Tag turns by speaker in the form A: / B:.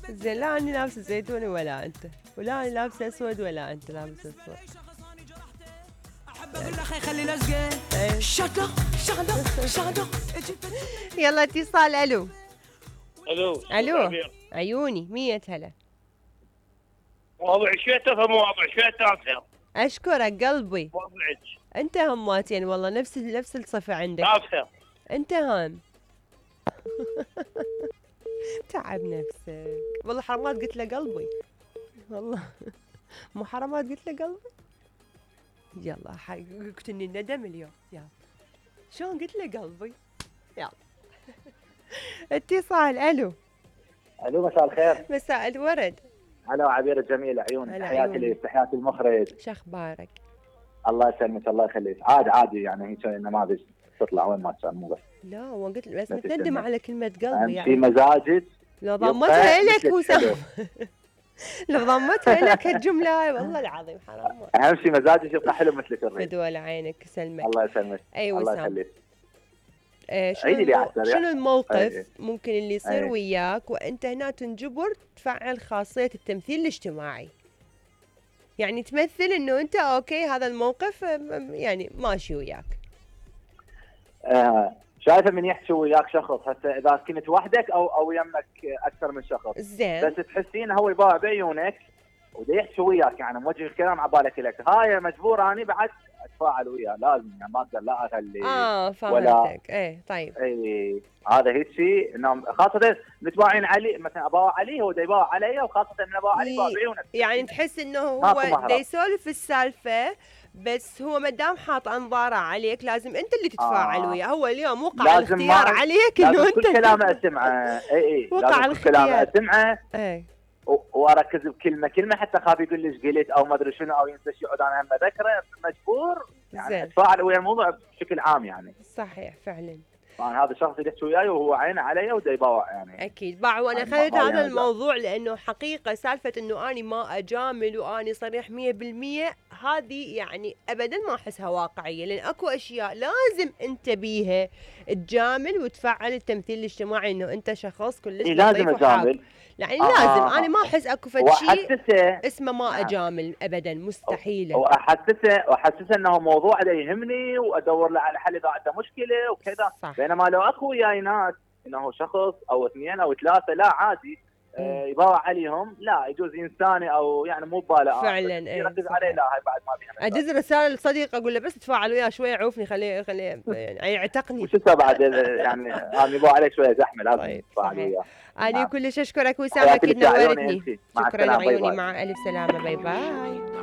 A: زين لا اني لابسه زيتوني ولا انت، ولا اني لابسه اسود ولا انت لابسه اسود. احب اقول له خلي لزقه شغله شغله شغله. يلا اتصال. الو الو عيوني 100 هلا.
B: مواضيع شوية مواضيع شوية.
A: اشكرك قلبي.
B: مواضيعك
A: انت هماتين والله نفس الصفة عندك.
B: تافهة.
A: انت هم تعب نفسك والله. حرامات قلت له قلبي والله. مو حرامات قلت له قلبي. يلا قلتني الندم اليوم. يلا شلون قلت له قلبي. يلا اتصال. الو
C: مساء الخير.
A: مساء الورد.
C: هلا عبير الجميل عيون. تحياتي المخرج.
A: شو اخبارك؟
C: الله يسلمك الله يخليك. عادي يعني هيك نماذج تطلع وين ما كان مو بس.
A: لا هو قلت بس متندم على كلمة قلبي
C: يعني. في مزاجك
A: لو ضمتها لك وسام. لو ضمتها لك هالجملة هاي والله العظيم حرام.
C: اهم شيء مزاجك يبقى حلو مثلك الريح.
A: بدول عينك يسلمك.
C: الله يسلمك.
A: اي
C: الله يخليك.
A: شنو الموقف ممكن اللي يصير وياك وانت هنا تنجبر تفعل خاصية التمثيل الاجتماعي؟ يعني تمثل انه انت اوكي هذا الموقف يعني ماشي وياك.
C: شايفه من يحكي وياك شخص هسه اذا كنت وحدك او يمك اكثر من شخص.
A: زين.
C: بس تحسين هو يباوع بعيونك ودا يحكي وياك يعني موجه الكلام على بالك لك. هاي مجبور اني بعد اتفاعل وياه لازم يعني ما اقدر لا اخلي.
A: فهمتك. ايه طيب.
C: اي هذا هيك شيء انه خاصه متباعين علي مثلا اباوع عليه هو دا يباوع علي وخاصه من اباوع علي يباوع بعيونك.
A: يعني تحس انه هو دا يسولف السالفه بس هو ما دام حاط انظاره عليك لازم انت اللي تتفاعل وياه. هو اليوم وقع الاختيار عليك انه انت
C: كل كلامه اسمعه. اي
A: وقع الاختيار.
C: كلامه اسمعه.
A: اي
C: واركز بكلمه حتى خاف يقول لي ايش قلت او ما ادري شنو او ينسى شيء انا هم اذكره مجبور يعني اتفاعل ويا الموضوع بشكل عام يعني.
A: صحيح فعلا.
C: هذا الشخص اللي يحكي وياي وهو عينه علي ودا يباوع يعني.
A: اكيد باع. وانا خذيت هذا الموضوع لانه حقيقه سالفه انه اني ما اجامل واني صريح 100% هذه يعني ابدا ما احسها واقعيه. لان اكو اشياء لازم انت بيها تجامل وتفعل التمثيل الاجتماعي انه انت شخص كلش
C: لازم اجامل
A: يعني لازم. انا ما احس اكو فد شيء اسمه ما اجامل ابدا مستحيله.
C: واحسسه انه موضوع دا يهمني وادور له على حل اذا عنده مشكله وكذا. بينما لو اكو وياي ناس انه شخص او اثنين او ثلاثه لا عادي يباوع عليهم لا يجوز انساني او يعني مو بباله
A: فعلا.
C: يركز عليه لا هاي بعد ما بيها.
A: ادز رساله لصديق اقول له بس تفاعل وياه شويه عوفني خليه يعني يعتقني.
C: وشو بعد يعني انا يباوع عليك شويه زحمه لازم تفاعل وياه.
A: أنا كلش أشكرك وسام أكيد نورتني. شكرا لعيوني. مع ألف سلامة. باي باي.